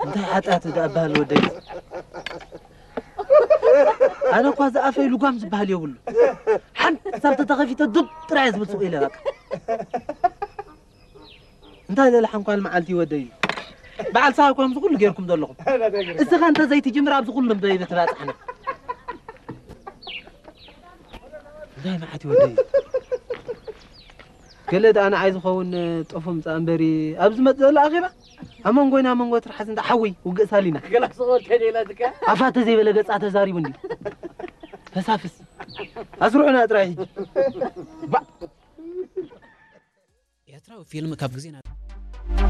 እንታይ ሓጢኣት ደኣ በሃል ወደይ። ኣነ እኳ ዝኣፈይ ልጓም ዝበሃል የብሉ። ሓንቲ ሳብ ተተኸፊተ ዱብ ጥራይ ዝብል ሱቕ ኢለ በቃ። እንታይ ዘለ ሓንኳል መዓልቲ ወደይ። በዓል ሳብ ከምዚ ኩሉ ጌርኩም ዘለኹም። እስኻ እንተ ዘይትጅምር ኣብዚ ኩሉ እምበይ በትባጽሕና። እንታይ መዓት ይወደይ። ገለ ደኣ ንዓይ ዝኸውን ጦፍ ምጻእ እምበሪ ኣብዚ መጽእ ዘሎ ኣኼባ ኣብ መንጎና መንጎ ትርሓስ እንዳ ሓዊ ውግእ ሳሊና። ገላ ስቕ በል ከደይ ኢላትካ። ኣፋ ተዘይበለ ገጻ ተዛሪቡ እንዲ። ተሳፍስ። ኣስርዑና ጥራይ ሕጂ። ባ- ኤርትራዊ ፊልም ካብ ግዜ ናብ